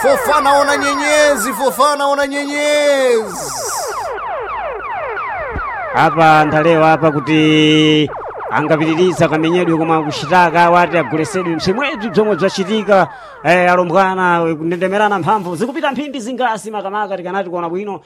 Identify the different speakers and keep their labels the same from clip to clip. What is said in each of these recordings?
Speaker 1: Fofana ona nyenyezi, Fofana ona nyenyezi.
Speaker 2: Apa ndalewa apa kuti angapitiriza kamenyedwe koma kuchitaka wati agulesedwe msemwebzi bzomwe bzachitika. Alombwana kundendemerana mphamvu zikupita mphindi zingasi makamaka tikanati kuona bwino.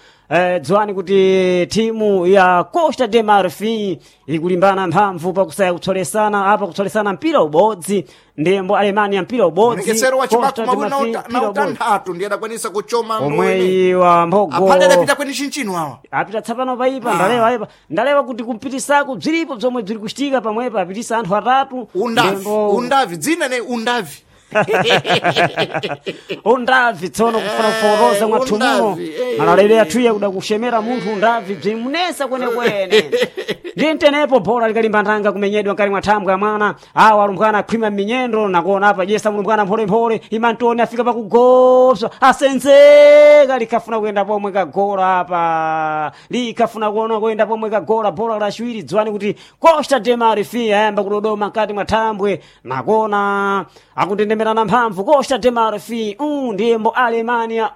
Speaker 2: Dziwani kuti timu ya Costa de Marfin ikulimbana mphamvu pakusaya kutsolesana apa, kutsolesana mpira ubodzi ndembo Alemania mpira ubodzi.
Speaker 1: Mrekesero wa
Speaker 2: Costa
Speaker 1: chibaku
Speaker 2: de
Speaker 1: mawiri
Speaker 2: Marfin,
Speaker 1: na
Speaker 2: mpira ubodzi.
Speaker 1: utanthatu ndiye adakwanisa kuchoma ndwene.
Speaker 2: Omweyi wa mbogo
Speaker 1: Aphale adapita kweni chinchino awa.
Speaker 2: Apita tsapano paipa. Ndalewa aipa, ndalewa kuti kumpitisako bziripo bzomwe bziri kuchitika pamwepa, apitisa anthu atatu.
Speaker 1: Undavi,
Speaker 2: Ndembo
Speaker 1: undavi, dzina ne undavi.
Speaker 2: Undavi tsono kufuna kuforoza mwathu muno.
Speaker 1: Undavi, eh.
Speaker 2: Malalero athuye kuda kushemera munthu undavi bzimunesa kwenekwene. Ndi ntenepo bhola likalimba ndanga kumenyedwa nkali mwa thambwe ya mwana awa alumbwana akhwima m'minyendo nakuona apa jesa mulumbwana mpholemphole imantoni afika pakugoswa asenzeka likhafuna kuyenda pomwe kagola apa, likhafuna kuona kuyenda pomwe kagola bhola laciwiri. Dziwani kuti Costa de Marfin ayamba kudodoma mkati mwa thambwe nakuona akundendemerana mphamvu Costa de Marfin ndiyembo Alemania.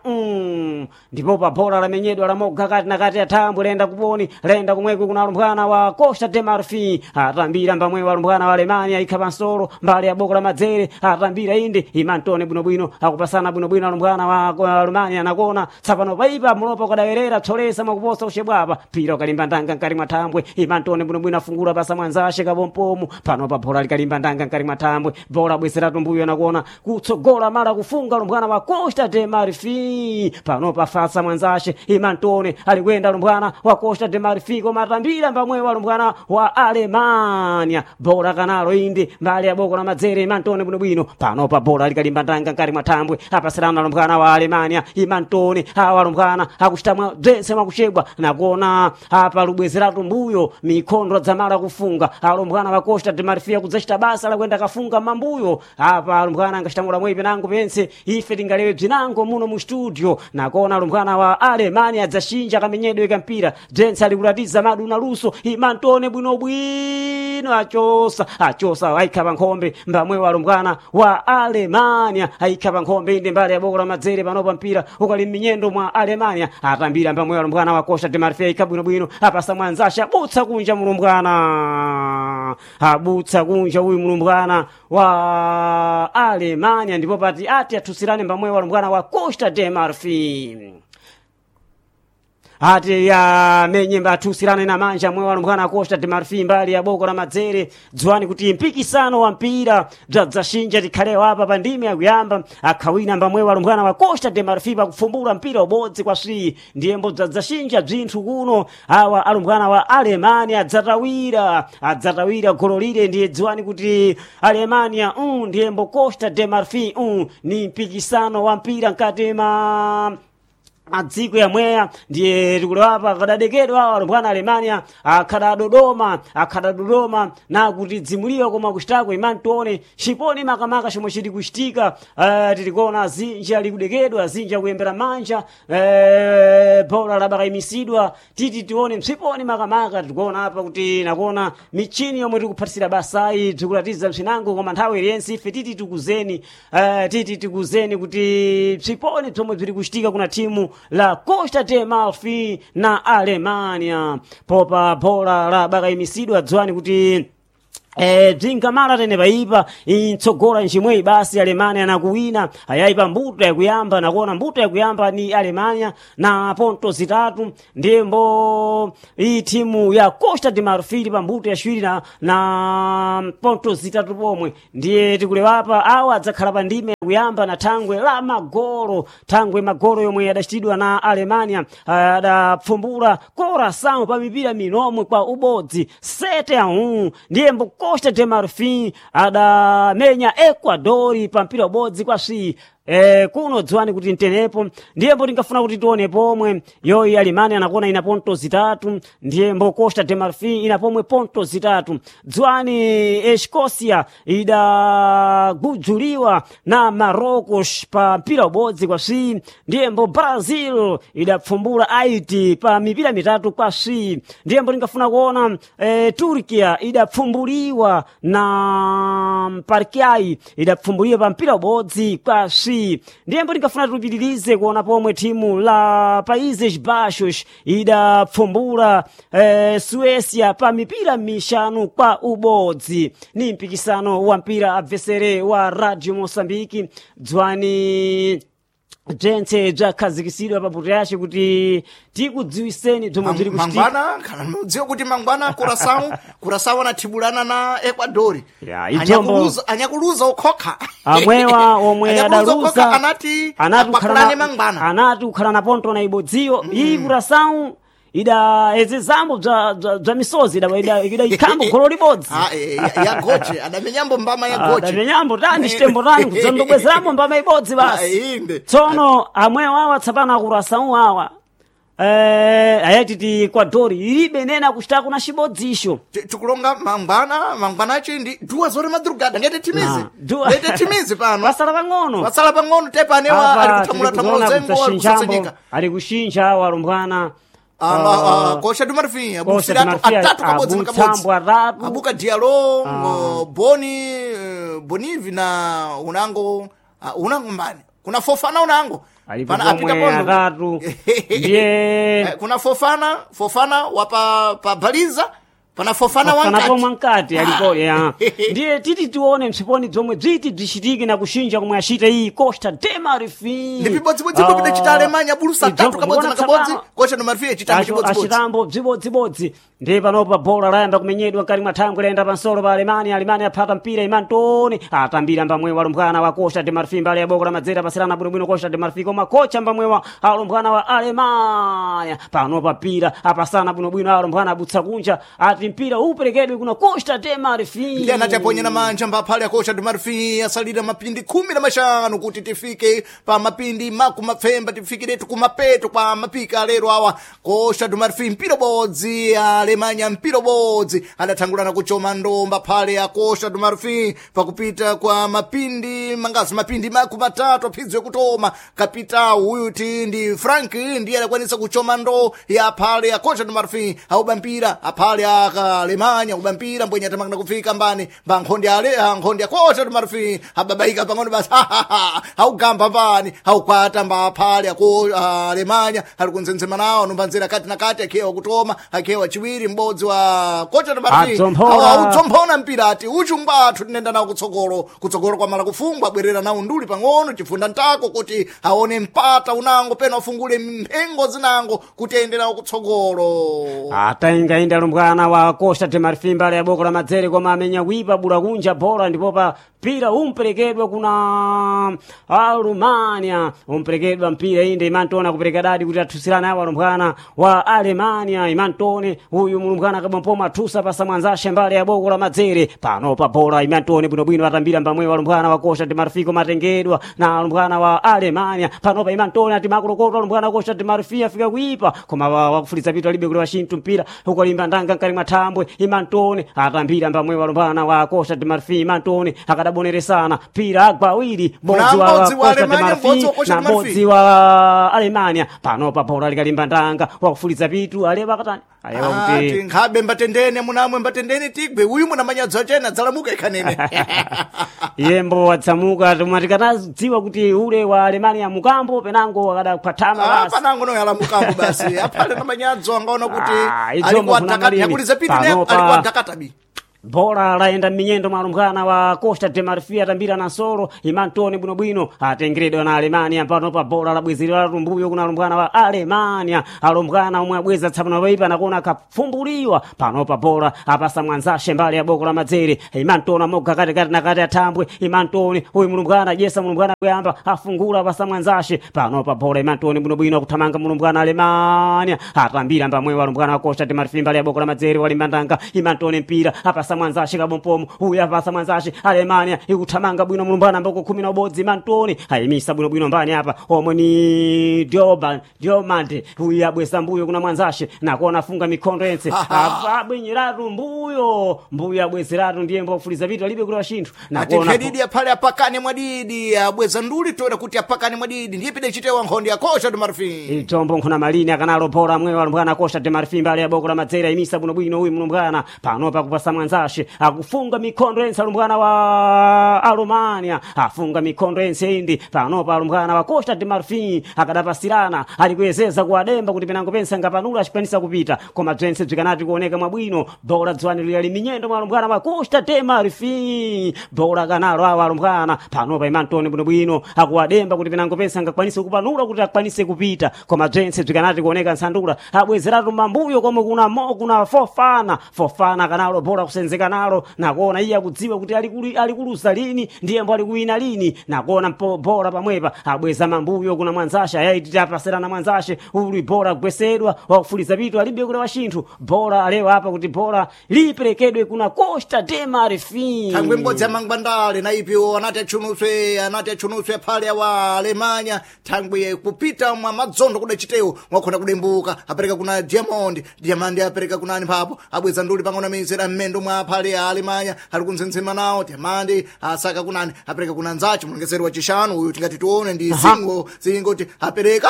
Speaker 2: Ndipo pa bhola lamenyedwa lamoga kati na kati ya thambwe lenda kuponi lenda kumwekwe kuna alumbwana wa Costa de Marfin atambira mbamwe wa alumbwana wa Alemania ikha pansolo mbali ya boko la madzere atambira inde imantone bwinobwino akupasana bwinobwino alumbwana wa Alemania nakona tsapano paipa mulopa ukadawerera tsolesa mwakuposa ushebwapa pira ukalimba ndanga nkati mwa thambwe imantone bwinobwino afungula pasa mwanzashe kabompomu. Pano pa bhola likalimba ndanga nkati mwa thambwe bhola bweseratu mbuyo nakuona kutsogola mala kufunga lumbwana wa Costa de Marfin. Pano pafasa mwanzashe imantone alikwenda lumbwana wa Costa de Marfin koma atambira mbamwe wa lumbwana wa Alemania bhola kanalo indi mbali ya boko la madzere imantone bwinobwino. Pano pa bhola likalimba ndanga nkati mwa thambwe apasalana lumbwana wa Alemania imantone awa lumbwana akuchita mwa bzense mwakuchebwa nakuona apa lubwezeratu mbuyo mikhondo adzamala kufunga alumbwana wa Costa de Marfin kudzachita basa lakwenda kafunga mambuyo apa alumbwana angachita mwepi nango pense ife tingalewe bzinango muno mu studio nakona alumbwana wa Alemania adzashinja kamenyedwe kampira bzense alikulatiza madu na luso imantone bwinobwino achosa achosa aikha pa nkhombe mbamwe wa alumbwana wa Alemania aikha pa nkhombe inde mbali ya boko la madzere. Panopa mpira ukali m'minyendo mwa Alemania atambira mbamwe wa alumbwana wa Costa de Marfin aikha bwinobwino apasa mwanzasha abutsa kunja mulumbwana abutsa kunja uyu mulumbwana wa Alemania ndipo pati ati athusirane mbamwe wa lumbwana wa Costa de Marfin ati yamenye athusirane na manja mwe walumbwana Costa de Marfin mbali ya boko la madzere. Dziwani kuti mpikisano wa mpira bzadzaxinja tikhalewa apa pa ndime yakuyamba akhawina mbamwe walumbwana wa Costa de Marfin pakufumbula mpira ubodzi kwa swi ndiyembo bzadzaxinja bzinthu kuno awa alumbwana wa Alemania adzatawira adzatawira golo lile. Ndiye dziwani kuti Alemania ndiyembo Costa de Marfin ni mpikisano wa mpira mkati ma adziko yamweya. Ndiye tikulewapa akadadekedwa awa alumbwana Alemania akhadadodoma akhadadodoma nakuti dzimuliwa koma kuchitako imantone chiponi makamaka chomwe chili kuchitika. Tilikuona azinji ali kudekedwa azinji akuyembera manja. Bola labakayimisidwa titi tione msiponi makamaka tikuona apa kuti nakuona michini yomwe tikuphatisira basayi bzikulatiza msinango koma nthawi iliyense ife titi tikuzeni titi tikuzeni kuti msiponi bzomwe bzili kuchitika kuna timu la Costa de Marfin na Alemania popa bola la bakayimisidwa. Dziwani kuti bzingamala tene paipa intsogola nchimweyi basi Alemania nakuwina ayayipa mbuto yakuyamba nakuona mbuto yakuyamba ni Alemania na ponto zitatu ndiyembo iyi timu ya Costa de Marfil pa mbuto yaciwiri na ponto zitatu pomwe. Ndiye tikulewapa awa adzakhala pa ndime yakuyamba na thangwe la magolo thangwe magolo yomwe adachitidwa na Alemania adapfumbula Coração pa mipira minomwe kwa ubodzi 7-1 ndiyembo Costa de Marfin adamenya Ecuador pa mpira ubodzi kwa swi. Kuno dziwani kuti ntenepo ndiyembo tingafuna kuti tione pomwe yoyi Alemania anakuona ina ponto zitatu ndiyembo Costa de Marfin ina pomwe ponto zitatu. Dziwani Escocia idagudzuliwa na Marocos pa mpira ubodzi kwa swi ndiyembo Brazil idapfumbula Haiti pa mipira mitatu kwa swi ndiyembo tingafuna kuona Turkia idapfumbuliwa na Paraguay idapfumbuliwa pa mpira ubodzi kwa swi. tswi. Ndiyembo tingafuna tipitirize kuona pomwe timu la Países Baixos idapfumbula Suécia pa mipira mixanu kwa ubodzi. Ni mpikisano wa mpira abvesere wa Radio Moçambique dzwani bzentse bzakhazikisidwa pa puto yace kuti tikudziwiseni bzomwe bziri kuchitika.
Speaker 1: Mangwana kana mudziwe kuti mangwana Curaçao, Curaçao anathibulana na Ecuador.
Speaker 2: Ya, idzombo-
Speaker 1: Anyakuluza okhokha.
Speaker 2: Amwewa omwe
Speaker 1: Anyakuluza okhokha
Speaker 2: adaluza
Speaker 1: anati
Speaker 2: anati
Speaker 1: apakulane mangwana.
Speaker 2: anati kukhala na ponto na ibodziyo iyi Curaçao ida ezezambo bza misozi ida ikhambo golo libodzi.
Speaker 1: Ah, ya goche adamenyambo mbama ya goche.
Speaker 2: Adamenyambo tani chitembo tani kudzandobwezeramo mbama ibodzi basi.
Speaker 1: Ah, inde.
Speaker 2: Tsono amwewa awa tsapano akurasawu awa ayatiti Ecuador ilibe nena kuchitako na chibodzisho.
Speaker 1: Tikulonga mangwana mangwanachi ndi duas horas madrugada ngete timizi.
Speaker 2: Ah, duas-
Speaker 1: Ngete timizi pano.
Speaker 2: Wasala pang'ono.
Speaker 1: Wasala pang'ono tepa anewa
Speaker 2: Apa
Speaker 1: ali kuthamula
Speaker 2: tiri
Speaker 1: thamula
Speaker 2: kuzoona
Speaker 1: zengo ali
Speaker 2: kudzashinjambo,
Speaker 1: kusasenyeka.
Speaker 2: ali kushinja awa alumbwana.
Speaker 1: Costa do Marfim,
Speaker 2: Costa do
Speaker 1: abusiratu
Speaker 2: Marfim,
Speaker 1: atatu kabodzi na kabodzi.
Speaker 2: abutsambo atatu.
Speaker 1: Abuka Diallo, Boni, Bonivi na unango unango mbani. Kuna Fofana unango.
Speaker 2: Alipo
Speaker 1: Pana apita
Speaker 2: pomwe
Speaker 1: pondo.
Speaker 2: atatu. Ndiye
Speaker 1: Kuna Fofana, Fofana wa pa Baliza, pana Fofana
Speaker 2: Fofana
Speaker 1: wankati.
Speaker 2: pomwe mkati alipo ya. Ndiye titi tione msiponi zomwe bziti bzishitike na kushinja komwe ashita iyi Costa de Marfim.
Speaker 1: Ndi pibodzibodzipo pidachita Alemanya bulusa atatu kabodzi na kabodzi. Costa do Marfim chitatu chibodzibodzi.
Speaker 2: Achitambo bzibodzibodzi. Ndiye panopa bola layamba kumenyedwa mkati mwa thangwe layenda pansolo pa Alemania. Alemania aphata mpira Imantoni atambira mbamwewa alumbwana wa Costa de Marfim mbali ya boko la madzera pasirana bwinobwino Costa de Marfim koma kocha mbamwewa alumbwana wa Alemania. Panopa mpira apasana bwinobwino alumbwana abutsa kunja ati mpira uperekedwe kuna Costa de Marfim.
Speaker 1: Ndiye anati aponyera manja mbaphale ya Costa do Marfim asalira mapindi 15 kuti tifike pa mapindi makumapfemba tifikiretu kumapeto kwa mapika lero awa. Costa do Marfim mpira bodzi, Alemanya mpira bodzi, adathangulana kuchoma ndomba phale ya Costa do Marfim pakupita kwa mapindi mangazi mapindi makumatatu aphidzo yakutoma. Kapitao uyu ti ndi Frank ndiye adakwanisa kuchoma ndo ya phale ya Costa do Marfim auba mpira aphale ya Alemanya uba mpira mbwenye atamangana kufika mbani mba nkhondi ale nkhondi ya Costa do Marfim ababaika pang'ono basi augamba mbani aukwata mba phale ya Alemanya ali kunzenzema nawo numbanzira kati na kati akhewa kutoma akhewa chiwiri m'bodzi wa Costa do Marfim
Speaker 2: Adzomphona.
Speaker 1: audzomphona mpira ati uchungwa athu tinenda nawo kutsogolo kutsogolo kwamala kufungwa bwerera nawo nduli pang'ono chifunda ntako kuti aone mpata unango pena afungule mphengo zinango kuti ayende nawo kutsogolo.
Speaker 2: Ataingainda alumbwana wa Costa de Marfim mbali ya boko la madzere koma amenya kuipa bula kunja bola ndipo pa mpira umperekedwa kuna Alumania umperekedwa mpira inde Imantone akupereka dadi kuti athusirane awo alumbwana wa Alemania. Imantone uyu mulumbwana akabwampoma athusa pasa mwanzashe mbali ya boko la madzere. Pano pa bola Imantone bwinobwino atambira mbamwewa alumbwana wa Costa de Marfim koma atengedwa na alumbwana wa Alemania. Pano pa Imantone ati makulokotwa alumbwana wa Costa de Marfim afika kuipa koma wakufuliza pitu alibe kulewa chinthu mpira ukalimba ndanga mkati mwa thambwe. Imantone atambira mbamwewa alumbwana wa Costa de Marfim. Imantone akadaboneresana mpira agwa awiri
Speaker 1: Kuna
Speaker 2: bodzi wa
Speaker 1: m'bodzi wa
Speaker 2: Costa de
Speaker 1: Alemania,
Speaker 2: Marfim
Speaker 1: m'bodzi wa Costa
Speaker 2: na
Speaker 1: de Marfim.
Speaker 2: m'bodzi wa Alemania. Panopa bola likalimba ndanga wakufuliza pitu alewa akatani alewa
Speaker 1: Ati
Speaker 2: kuti
Speaker 1: nkhabe mbatendene munamwe mbatendene tigwe uyu munamanyadzo achena adzalamuka ikhanene.
Speaker 2: yembo watsamuka tomwe tikanadziwa kuti ule wa Alemania mukambo penango akadakhwathama basi.
Speaker 1: Panango no yalamukambo basi aphale na manyadzo angaona kuti
Speaker 2: Ah, idzombo
Speaker 1: alikuwa
Speaker 2: kuna
Speaker 1: dakata
Speaker 2: malini.
Speaker 1: yakuliza pitu ne
Speaker 2: Panopa-
Speaker 1: alikuwa dakatabi.
Speaker 2: Bola laenda m'minyendo mwa alumbwana wa Costa de Marfim atambira na nsolo Imantone bwinobwino atengeredwa na Alemania. Panopa bola labwezerera tumbuyo kuna alumbwana wa Alemania alumbwana omwe abweza tsapano paipa nakuona akapfumbuliwa. Panopa bola apasa mwanzashe mbali ya boko la madzere Imantone amoga katikati na kati athambwe Imantone uyu mulumbwana jesa mulumbwana kuyamba afungula apasa mwanzashe. Panopa bola Imantone bwinobwino akuthamanga mulumbwana Alemania atambira mbamwewa alumbwana wa Costa de Marfim mbali ya boko la madzere walimbandanga Imantone mpira apasa mwanzashe kabompomo uyu apasa mwanzashe Alemania ikuthamanga bwino mulumbwana mboko 11 Imantone ayimisa bwinobwino mbani apa omwe ni Dioba Diomande uyu abweza mbuyo kuna mwanzashe nakuona afunga mikhondo yense abwinyiratu mbuyo mbuyo abwezeratu ndiye mbofuliza vitu alibe kulewa chinthu
Speaker 1: Ati
Speaker 2: nakuona
Speaker 1: khedidi aphale apakane mwadidi abweza nduli toera kuti apakane mwadidi ndiye pide chitewa nkhondi ya Costa do Marfim.
Speaker 2: Itombo nkhuna malini akanalo bora mwewa alumbwana Costa de Marfim mbali ya boko la madzera imisa bwinobwino uyu mulumbwana panopa kupasa mwanzashe. mwanzashe akufunga mikhondo yense alumbwana wa Alumania, afunga mikhondo yense indi panopa alumbwana wa Costa de Marfin akadapasirana ali kuyezeza kuwademba kuti penango pensa ngapanula acikwanisa kupita, koma bzense bzikanati kuoneka mwabwino. Bola dzwani liyali minyendo mwa alumbwana wa Costa de Marfin, bola kanalo awa alumbwana panopa imantoni bwinobwino akuwademba kuti penango pensa ngakwanise kupanula kuti akwanise kupita, koma bzense bzikanati kuoneka nsandula abwezeratu mambuyo komwe kuna mo kuna Fofana. Fofana kanalo bola kusenzeka nalo nakuona iye akudziwa kuti alikulusa lini ndiyembo alikuwina lini, nakuona bola pamwepa abweza mambuyo kuna mwanzashe ayaiti apaserana mwanzashe uli bola kugwesedwa wakufuliza pitu alibe kule washinthu bola alewa apa kuti bola liperekedwe kuna Costa de Marfin.
Speaker 1: Thangwe mbodzi ya mangwandale na ipiwo anati atchunuswe, anati atchunuswe aphale awa Alemanya. Thangwe kupita mwa madzondo kudacitewo mwakhona kudembuka apereka kuna Diamond, Diamond apereka kunani mphapo abweza nduli pang'ono ameyesera mmendo mwa aphale a Alemanya ali kuntsensema nawo. Diamond asaka kunani apereka kuna nzache mulongeseri wa chishanu uyu tingati tione ndi singo singo ti apereka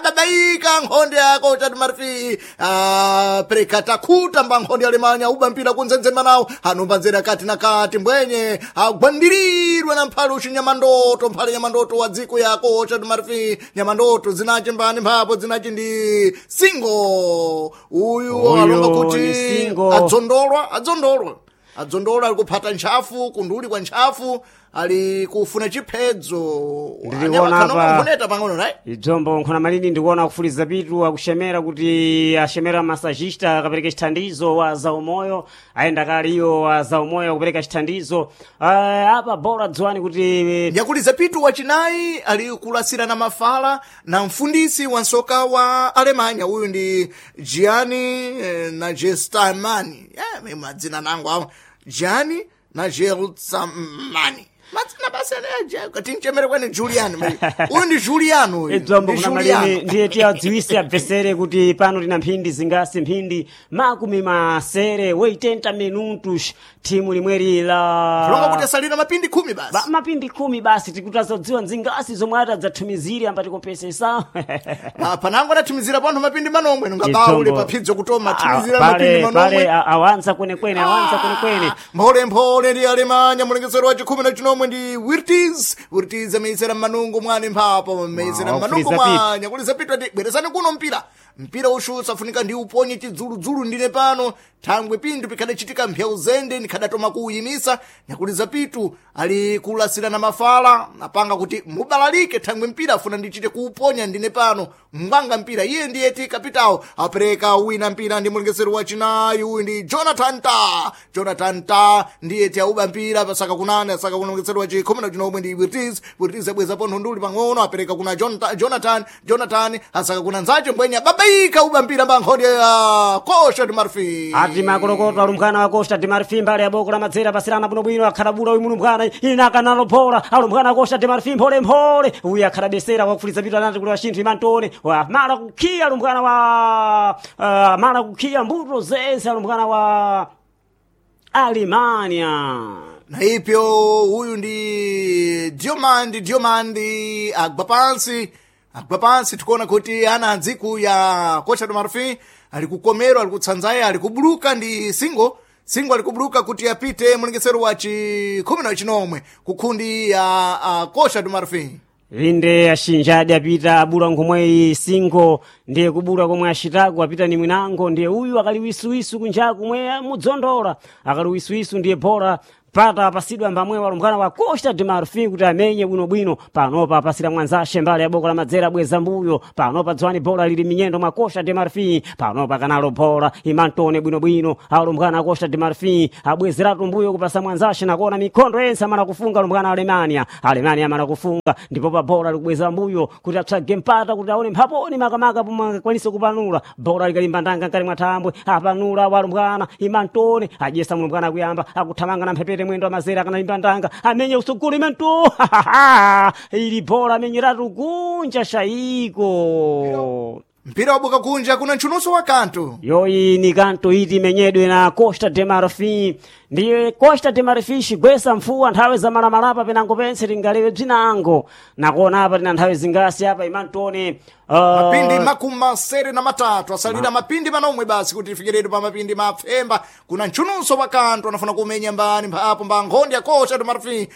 Speaker 1: babaika nkhonde yako chati marfi apereka takhuta mba nkhonde ya Alemanya uba mpira kuntsensema nawo anomba nzera kati na kati mbwenye agwandirirwa na mphale uci nyamandoto, mphale nyamandoto wa dziko yako chati marfi nyamandoto zinace mbani mphapo zinace ndi singo uyu
Speaker 2: Uyu
Speaker 1: alonga kuti
Speaker 2: ni Singo.
Speaker 1: adzondolwa, adzondolwa, adzondolwa ali kuphata ntchafu kunduli kwa ntchafu ali kufuna chiphedzo.
Speaker 2: Ndikuona apa-
Speaker 1: nkhoneta pang'ono right.
Speaker 2: Idzombo nkhona malini ndikuona kufuliza pitu akushemera kuti ashemera masajista akapereka chithandizo wa zaumoyo ayenda kale iyo wa zaumoyo akupereka chithandizo. Apa bola dziwani kuti
Speaker 1: Nyakuliza pitu wachinayi ali kulasira na mafala na mfundisi wa nsoka wa Alemanya uyu ndi Gianni Nagelsmann. Yeah, madzina nango awa Gianni Nagelsmann, madzina basi tinchemere kwene Julian uyu ndi Julian uyu
Speaker 2: Idzombo
Speaker 1: ndi
Speaker 2: kuna malini
Speaker 1: Juliano.
Speaker 2: ndiye tiyadziwise abvesere kuti pano tina mphindi zingasi mphindi makumi masere 80 minutos thimu limweri la
Speaker 1: Kulonga kuti asalira mapindi 10 basi.
Speaker 2: Mapindi 10 basi tikutazodziwa nzingasi zomwe atadzathumizire ambati kompesesa.
Speaker 1: Panango anathumizira panthu mapindi manomwe nungabaule paphidzo kutoma athumizira mapindi
Speaker 2: pale
Speaker 1: manomwe.
Speaker 2: Awanza kwenekwene, awanza kwenekwene.
Speaker 1: Mpholemphole ndi Alemanya mulengezero wa chikhumi na chinomwe ndi Wirtiz, Wirtiz ameyesera mmanungu mwani mphapo ameyesera
Speaker 2: Wow,
Speaker 1: mmanungu
Speaker 2: kuliza pitu.
Speaker 1: mwanya kuliza pitu ati bwerezani kuno mpira, mpira ushutsa afunika ndi uponye chidzuludzulu ndine pano thangwe pindu pikhadachitika mphewu zende ndikhadatoma kuuyimisa. Nyakuliza pitu ali kulasira na mafala apanga kuti mubalalike thangwe mpira afuna ndichite kuuponya ndine pano ngwanga mpira iye ndiye ti kapitawo apereka wina mpira ndi mulengezero wachinayi uyu ndi Jonathan Ta, Jonathan Ta ndiye ti auba mpira pasaka kunani asaka kuna mulengezero wa chikhumi na chinomwe ndi Wirtiz, Wirtiz abweza pontho nduli pang'ono apereka kuna Jonathan, Jonathan asaka kuna nzache mbwenye babaika uba mpira mbankhonde ya Costa de Marfin.
Speaker 2: Ati makolokoto alumbwana wa Costa de Marfin mbale ya boko la madzera pasirana bwinobwino akhalabula uyu mulumbwana ina akanalo bola alumbwana wa Costa de Marfin mphole mphole uyu akhalabesera wakufuliza pitu anati kuli washinthu imantone mala kukhiya alumbwana wa mala kukhiya mbuto zense alumbwana wa Alemania.
Speaker 1: Na ipyo uyu ndi Diomandi, Diomandi agwa pansi, agwa pansi tikuona kuti ana adziku ya Costa do Marfin ali kukomerwa ali kutsanzaya ali kubuluka ndi singo singo ali kubuluka kuti apite mulengesero wa chikhumi na chinomwe kukhundi ya Costa do Marfin.
Speaker 2: Inde ashinjadi apita abula nkhomweyi singo ndiye kubula komwe ashitako apita ni mwinango ndiye uyu akali wisuwisu kunjaku mwe mudzondola akali wisuwisu ndiye bora pata apasidwa mbamwe walumbwana wa Costa de Marfin kuti amenye bwinobwino panopa apasira mwanzashe mbale ya boko la madzera bweza mbuyo panopa dzwani bola lili minyendo mwa Costa de Marfin panopa kanalo bola imantone bwinobwino alumbwana a Costa de Marfin abwezeratu mbuyo kupasa mwanzashe nakuona mikhondo yense amala kufunga alumbwana Alemania, Alemania amala kufunga ndipo pa bola likubweza mbuyo kuti apsage mpata kuti aone mphaponi makamaka pomwe akwanise kupanula bola likalimba ndanga nkali mwa thambwe apanula walumbwana imantone adyesa mulumbwana akuyamba akuthamanga na mphepete mwendo amazera akanalimba ndanga amenye usugulu imanto ili bola amenyeratu kunja shayiko.
Speaker 1: Mpira wabuka kunja, kuna nchunuso wa kantu.
Speaker 2: Yoyi ni kanto iti imenyedwe na Costa de Marfin. Ndiye Costa de Marfin xigwesa mfuwa nthawi za malamalapa penango pense tingalewe bzinango. Nakuona apa tina nthawi zingasi apa imantone
Speaker 1: Mapindi 63 asalira mapindi manomwe basi kuti tifikiretu pa mapindi mapfemba. Kuna nchunuso wa kantu anafuna kumenya mbani mphapo mba nkhondi ya Costa do Marfin,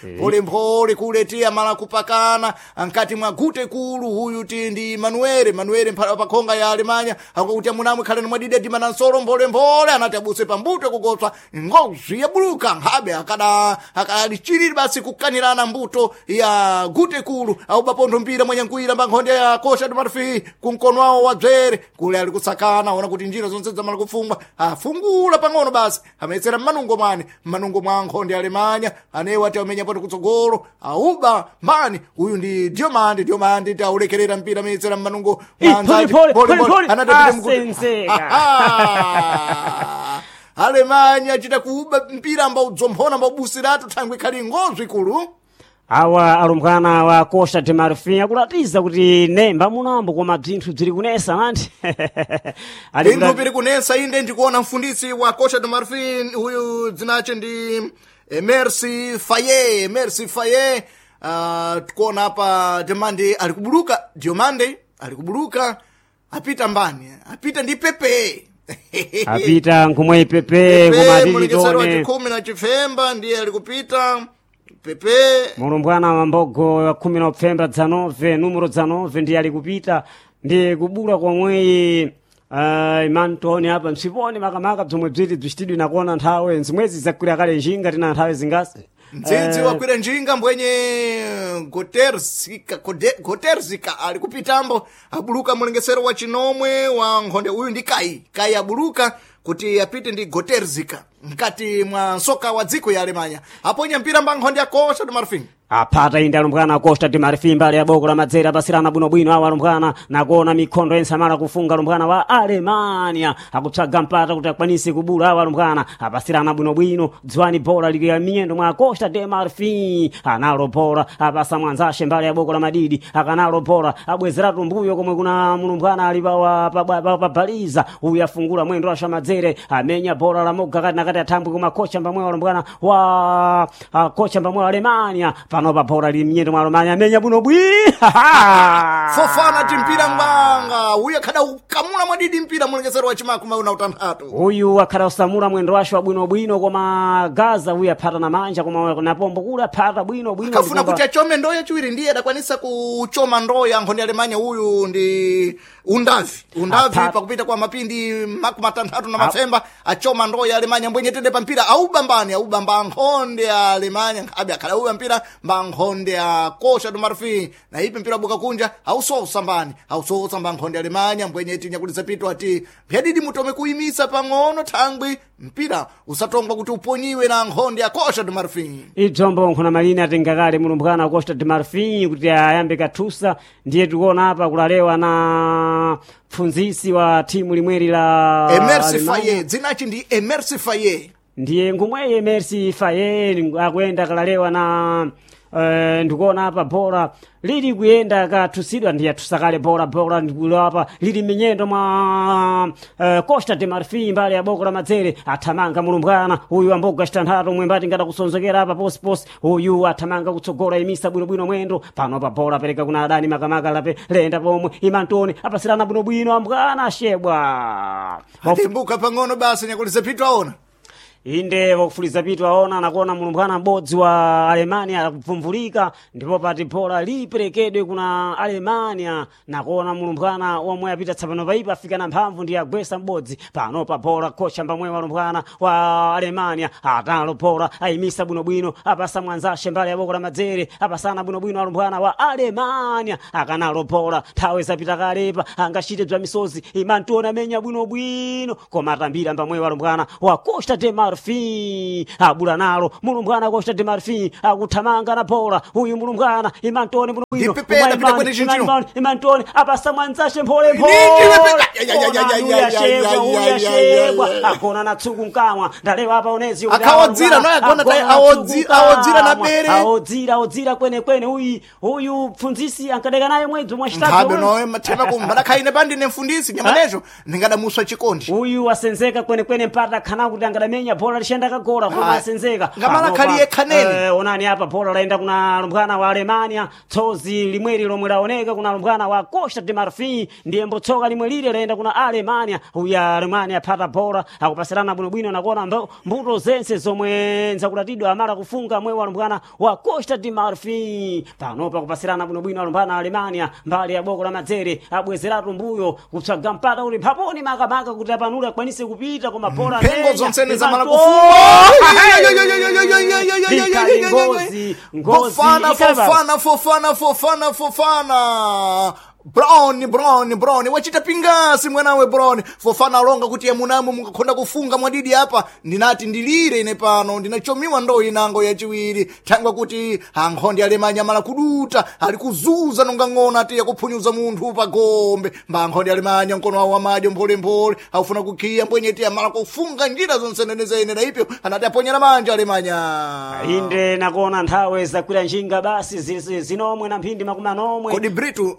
Speaker 1: mphole kuletia mala kupakana nkati mwa gute kulu. Huyu ti ndi Manuele Manuele mphala pakhonga ya Alemanya akuti amunamwe khalani mwadidi adima na nsolo mpholemphole anati abuse pambuto kukotswa ngozi yabuluka nkhabe akada akalichiriri basi kukanirana mbuto ya gute kulu au bapontho mpira mwanyankuira mba nkhonde ya Costa do Marfin kumkono wawo wa dzere kule ali kusakana ona kuti njira zonse zamala kufungwa afungula pang'ono basi ametsera mmanungo mwani mmanungo mwa nkhonde Alemanya anewo ati amenya poto kutsogolo auba mbani uyu ndi Diomande Diomande ti aulekerera mpira ametsera mmanungo
Speaker 2: Ih,
Speaker 1: mwa anzace.
Speaker 2: pole, pole,
Speaker 1: Pole, pole.
Speaker 2: pole.
Speaker 1: Anatapita mkuti.
Speaker 2: Asenzeka.
Speaker 1: Alemanya achita kuuba mpira ambaudzomphona ambaubusiratu thangwi khali ngozwi kulu.
Speaker 2: Awa alumbwana wa Costa de Marfin akulatiza kuti nemba munambo koma bzinthu bziri kunesa manthi. Ali
Speaker 1: Binthu piri kunesa inde ndikuona mfundisi wa Costa do Marfin huyu dzinache ndi Merci Faye Merci Faye. Tikuona apa Diomande ali kubuluka Diomande ali kubuluka apita mbani apita ndi Pepe
Speaker 2: apita nkhumwe Pepe koma
Speaker 1: Pepe mulekesero wa
Speaker 2: titone
Speaker 1: chikhumi na chifemba ndiye ali kupita Pepe.
Speaker 2: Mulumbwana wa mbogo wa khumi na upfemba 19 numero 19 ndiye ali kupita ndiye kubula komweyi imantoni apa msiponi makamaka bzomwe bziti bzicitidwi nakuona nthawe nzimwezi zakwira kale njinga tina nthawe zingasi.
Speaker 1: Mdzidzi wakwira njinga mbwenye Goterzika Goterzika ali kupitambo abuluka mulengesero wa chinomwe wa nkhonde uyu ndi Kai Kai abuluka kuti apite ndi Goterzika mkati mwa nsoka wa dziko ya Alemanya aponya mpira mba nkhonde ya Costa do Marfin.
Speaker 2: Aphata inde alumbwana Costa de Marfin mbali ya boko la madzere apasirana bwinobwino awo alumbwana nakuona mikhondo yensamala kufunga alumbwana wa Alemania akupsaga mpata kuti akwanise kubula awo alumbwana apasirana bwinobwino dziwani bola lili ya miyendo mwa Costa de Marfin analo bola apasa mwanzashe mbali ya boko la madidi akanalo bola abwezeratu mbuyo komwe kuna mulumbwana ali pabaliza uyu afungula mwendo asha madzere amenya bola la moga kati nakati athambwe koma kocha mbamwe alumbwana wa kocha mbamwe wa Alemania panopa bola lili mnyendo mwa Alemania amenya bwino bwi
Speaker 1: Fofana ti mpira ngwanga uyu akhada ukamula mwadidi mpira mulengesero wa chimakumi una utanthatu.
Speaker 2: Uyu akhala usamula mwendo wace wa bwinobwino koma Gaza uyu aphata na manja koma napombo kule aphata bwinobwino.
Speaker 1: Kafuna kuti achome ndoo yachiwiri ndiye adakwanisa kuchoma ndoo ya nkhonde ya Alemanya uyu ndi Undavi Undavi pakupita kwa mapindi 63 na mafemba achoma ndoo ya Alemanya mbwenye tende pa mpira aubambani aubamba nkhonde ya Alemanya nkhabe akhala auba mpira mba nkhonde ya Costa do Marfin na ipi mpira buka kunja ausosa mbani ausosa mba nkhonde ya Alemanya mbwenye tinyakulisa pito ati pyadidi mutome kuimisa pang'ono thangwi mpira usatongwa kuti uponyiwe na nkhonde ya Costa do Marfin.
Speaker 2: Idzombo nkhuna malini atengakale mulumbwana wa Costa de Marfin kuti ayambe kathusa ndiye tikuona apa kulalewa na pfunzisi wa timu limweri la
Speaker 1: Emersi
Speaker 2: Alemania.
Speaker 1: Faye dzinachi ndi Emersi Faye.
Speaker 2: Ndiye ngumweye Merci Faye akuyenda kalalewa na ndikuona apa bora lili kuyenda kathusidwa ndiye athusakale bora bora ndikulo apa lili minyendo mwa Costa de Marfin mbali ya boko la madzere athamanga mulumbwana uyu amboga citanthatu mwembati ngada kusonzekera apa posiposi uyu athamanga kutsogola imisa bwinobwino mwendo pano pa bora apereka kuna adani makamaka lape lenda pomwe imantoni apasirana bwinobwino ambwana ashebwa.
Speaker 1: Atimbuka pang'ono basi nyakulisa pito aona.
Speaker 2: Inde wakufuliza pitu aona nakuona mulumbwana m'bodzi wa Alemania akupfumvulika ndipo pati bola liperekedwe kuna Alemania nakuona mulumbwana womwe apita tsapano paipa afika na mphamvu ndiye agwesa m'bodzi pano pa bola kocha mbamwe walumbwana wa Alemania atalo bola ayimisa bwinobwino apasa mwanzashe mbali ya boko la madzere apasana bwinobwino alumbwana wa Alemania akanalo bola nthawi zapita kalepa angachite bza misozi imantiona amenya bwinobwino koma atambira mbamwe walumbwana wa Costa de Marfin. Marfin abula nalo mulumbwana Costa de Marfin akuthamanga na bola uyu mulumbwana Imantoni bwino
Speaker 1: Ndipepeta pita kwene chinchino.
Speaker 2: Imantoni apasa mwanzashe mphole
Speaker 1: Nindi wepeka. Ya, ya, ya, ya, ya, ya, ya, ya, ya, ya, ya.
Speaker 2: Agona na tsuku mkamwa ndalewa apa onezi kuti
Speaker 1: Akawodzira,
Speaker 2: awa
Speaker 1: no, agona tayi, awodzira na bere.
Speaker 2: Awodzira, awodzira kwene kwene uyu uyu pfunzisi ankadeka naye mwedzi mwachitatu
Speaker 1: Nkhabe
Speaker 2: uyu.
Speaker 1: nowe mathema kumbalakhaine pandine mfundisi nyamanezo ndingadamuswa chikondi.
Speaker 2: Uyu wasenzeka kwenekwene mpata khana kuti angadamenya bola lixenda kagola koma
Speaker 1: Ah,
Speaker 2: asenzeka.
Speaker 1: ngamala
Speaker 2: Panopa,
Speaker 1: khali yekhanene.
Speaker 2: Onani apa bola laenda kuna lumbwana wa Alemania tsozi limweri lomwe laoneka kuna lumbwana wa Costa de Marfin ndiye mbotsoka limwe lile laenda kuna Alemania. Uyu Alemania aphata bola akupasirana bwinobwino nakuona mbuto zense zomwe nzakulatidwa amala kufunga mwe wa lumbwana wa Costa de Marfin. Panopa kupasirana bwinobwino alumbwana Alemania mbali ya boko la madzere abwezeratu mbuyo kupsaga mpata uli mphaponi makamaka kuti apanule akwanise kupita koma bola
Speaker 1: Mphengo
Speaker 2: amenya,
Speaker 1: zonsene zamala
Speaker 2: Imanto- Ikali ngozi, ngozi,
Speaker 1: Fofana,
Speaker 2: ikali baba.
Speaker 1: Fofana, Fofana, Fofana, Fofana. Brown, Brown, Brown wachita pingasi mwanawe Brown. Fofana alonga kuti yamunamo mukakhonda kufunga mwadidi apa ndinati ndilire ine pano ndinachomiwa ndo inango yachiwiri thangwa kuti ankhondi alemanya mala kuduta ali kuzuza nonga ng'ona ati yakuphunyuza munthu pa gombe. Mba ankhondi alemanya mkono wawo wamadyo mpholemphole aufuna kukhiya mbwenyeti amala kufunga njira zonsenenezene na ipyo anati aponyera manja alemanya.
Speaker 2: Inde nakuona nthawe zakwira njinga basi zinomwe na mphindi makumi anomwe.
Speaker 1: Kodi Britu,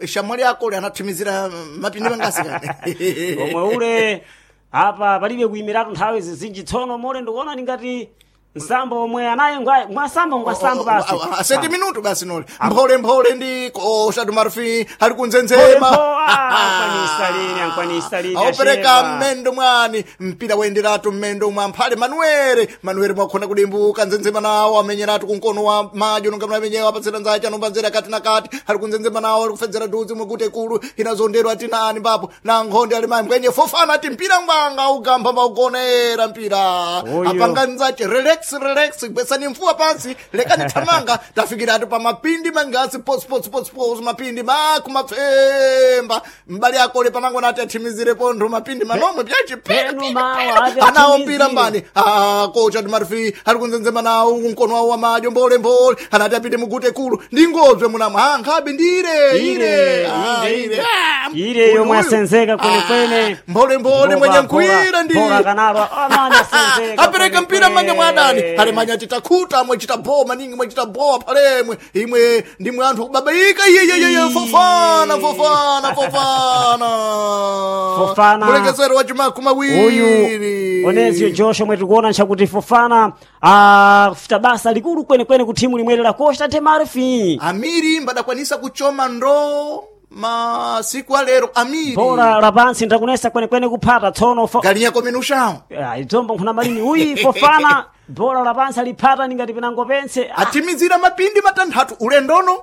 Speaker 1: shamwali yako uli anathimizira mapindi mangasi kani?
Speaker 2: Omwe ule apa palibe kuyimiratu nthawi zizinji tsono mole ndikuona ndingati nsambo omwe anaye ngwasambo ngwasambo basi.
Speaker 1: Sete minuto basi noli mphole mphole ndi Costa do Marfin ali kunzenzema.
Speaker 2: Ankwanisa lini, ankwanisa lini,
Speaker 1: aupereka
Speaker 2: asheva.
Speaker 1: mmendo mwani mpira waenderatu mmendo mwa mphale Manuere. Manuere mwakhona kudimbuka nzenzema nawo amenyeratu kunkono wa madyo nonga mnamenyewa apatsira nzache anombanzera kati na kati ali kunzenzema nawo ali kufedzera duzi mwekuti ekulu inazonderwa ati nani mbapo na nkhonde ali mayi mbwenye Fofana ati mpira ngwanga ugamba mbaugonera mpira.
Speaker 2: Uyu.
Speaker 1: Apanga nzache relax relax gwesani mfuwa pansi lekani thamanga tafikiratu pa mapindi mangasi pos pos pos pos mapindi makumapfemba mbali akole panango nati athimizire pontho mapindi manomwe
Speaker 2: Penu
Speaker 1: pyachi
Speaker 2: mawa ati
Speaker 1: anawo
Speaker 2: athimizire.
Speaker 1: mpira mbani. Ah, kocha timarfi ali kunzenzema nawo mkono wawo wamadyo mbole mbole anati apite mugute kulu ndingozwe munamwe. Ah, nkhabe ndire ire. Ah,
Speaker 2: ire,
Speaker 1: ire. Ah,
Speaker 2: ire yomwe
Speaker 1: uyu.
Speaker 2: asenzeka kwenekwene.
Speaker 1: Ah, mbole mbole mwenye nkwira ndi
Speaker 2: Bola kanalo amene asenzeka
Speaker 1: apereka mpira mmanja mwa adani.
Speaker 2: kwenekwene.
Speaker 1: Alemanya titakhuta mwechita bowa maningi mwechita bowa phalemwe imwe ndimwe anthu kubabaika iyeyeyeye. Fofana, Fofana, Fofana.
Speaker 2: Fofana.
Speaker 1: Mulekesero wa chimaku mawiri.
Speaker 2: Uyu onezio Joshua omwe tikuona nchakuti Fofana akufuta basa likulu kwenekwene ku thimu limweri la Costa de Marfin.
Speaker 1: Amiri mbadakwanisa kuchoma ndoo masiku alero amiri
Speaker 2: Bola la pansi ndakunesa kwenekwene kuphata tsono
Speaker 1: galinya komenushawo.
Speaker 2: Ah, idzombo nkhuna malini uyi Fofana bola la pansi aliphata ningati pinango pense.
Speaker 1: Atimizira mapindi matanthatu ulendono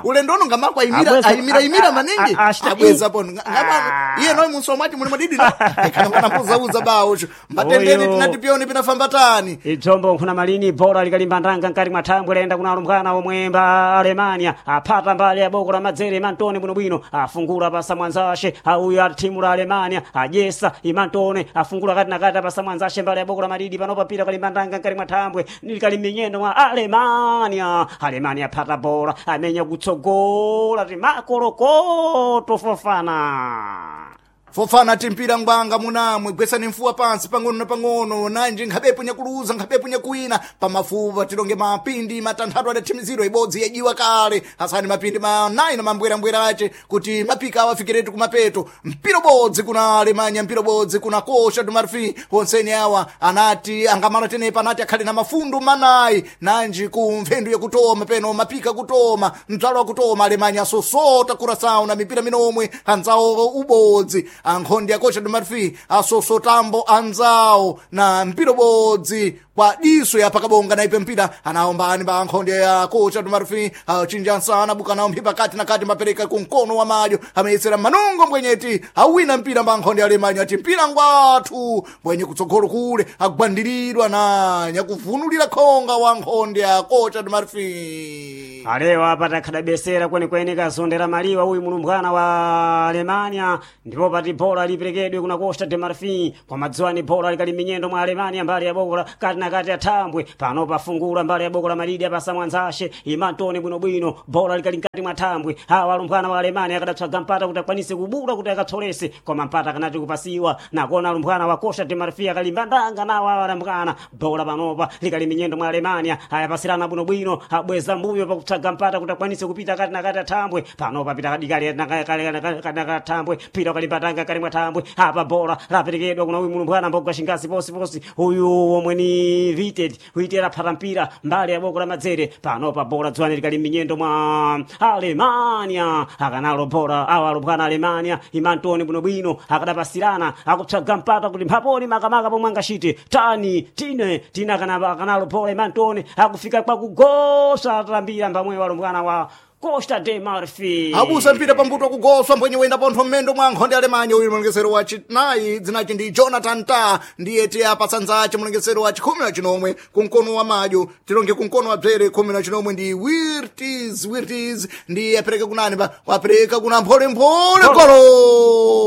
Speaker 1: ulendono ngamako ayimira
Speaker 2: Abweza-
Speaker 1: ayimira imira maningi abweza pono
Speaker 2: Ah.
Speaker 1: iye noyi munso mwati muli madidi no kana mwana muzauza bawo cho mbatendeni.
Speaker 2: Uyo.
Speaker 1: Tinati pyoni pinafambatani.
Speaker 2: Idzombo nkhuna malini bola likalimba ndanga nkati mwa thambwe laenda kuna alumbwana omwe mba Alemania aphata mbali ya boko la madzere Imantone bwinobwino afungula pasa mwanzashe auyu a thimu la Alemania ajesa Imantone afungula kati na kati apasa mwanzashe mbali ya boko la madidi panopa pira kalimba ndanga nkati mwa thambwe likali minyendo mwa Alemania. Alemania aphata bola amenya kutsogola timakolokoto Fofana.
Speaker 1: Fofana timpira ngwanga munamwe gwesani mfuwa pansi pang'ono na pang'ono nanji nkhabepo nyakuluza nkhabepo nyakuwina pamafupa tilonge mapindi matanthatu adathimizidwa ibodzi yajiwa kale asani mapindi manayi na mambwerambwera ace kuti mapika awo afikiretu kumapeto mpira ubodzi kuna Alemanya mpira ubodzi kuna Costa do Marfin onseni awa anati angamala tenepa anati akhale na mafundu manayi nanji ku mphendu yakutoma peno mapika kutoma mdzalo wakutoma Alemanya asosota kurasawu na mipira minomwe anzawo ubodzi ankhondi a Costa do Marfin asosotambo anzawo na mpira ubodzi. Kwa diso ya pakabonga naipe mpira anaombani bankhonde ya kocha tumarufi achinja nsana buka nawo mphipa kati na kati mapereka kunkono wa madyo ameyesera manungo mbwenyeti awina mpira mbankhonde alemanyo ati mpira ngwathu mbwenye kutsogolo kule agwandiridwa na nyakuvunulira khonga wa nkhonde ya kocha tumarufi.
Speaker 2: Alewa apa takhadabesera kwenikweni kazondera maliwa uyu mulumbwana wa Alemania, ndipo pati bola liperekedwe kuna Costa de Marfin kwa madzuwani. Bola likali minyendo mwa Alemania mbali ya bokola kati na kati athambwe pano pafungula mbali ya bokola madidi apasa mwanzashe imantoni bwinobwino. Bola likali mkati mwa thambwe, awa alumbwana wa Alemania akadatswaga mpata kuti akwanise kubula kuti akatsolese, koma mpata akanati kupasiwa nakona alumbwana wa Costa de Marfin akalimba ndanga nawo awa alumbwana. Bola panopa likali minyendo mwa Alemania, ayapasirana bwinobwino, abweza mbuyo pakutsaga mpata kuti akwanise kupita kati na kati athambwe. Panopa pita kadikali kathambwe pita ukalimpatanga kali mwa thambwe. Apa bola laperekedwa kuna uyu mulumbwana mboga shingazi posiposi uyu omwe ni Vited huitera phata mpira mbali ya boko la madzere. Panopa bola dzwani likali minyendo mwa Alemania, akanalo bola awa alumbwana Alemania imantoni bwinobwino akadapasirana akupsaga mpata kuti mphaponi makamaka pomwe angachite tani tine tina akanalo bola imantoni akufika kwakugosa atambira mbamwe walumbwana wa Costa de Marfin.
Speaker 1: Abusa mpira pambuto kugoswa mbwenye wenda pontho mmendo mwa nkhonde Alemanya. Uyu mulongesero wa chinayi dzinachi ndi Jonathan Ta ndiye tiyapatsa nzace mulongesero wa chikhumi na chinomwe kumkono wa madyo tilonge kumkono wa bzere khumi na chinomwe ndi Wirtis. Wirtis ndiye apereka kunani pa wapereka kuna mpholemphole golo.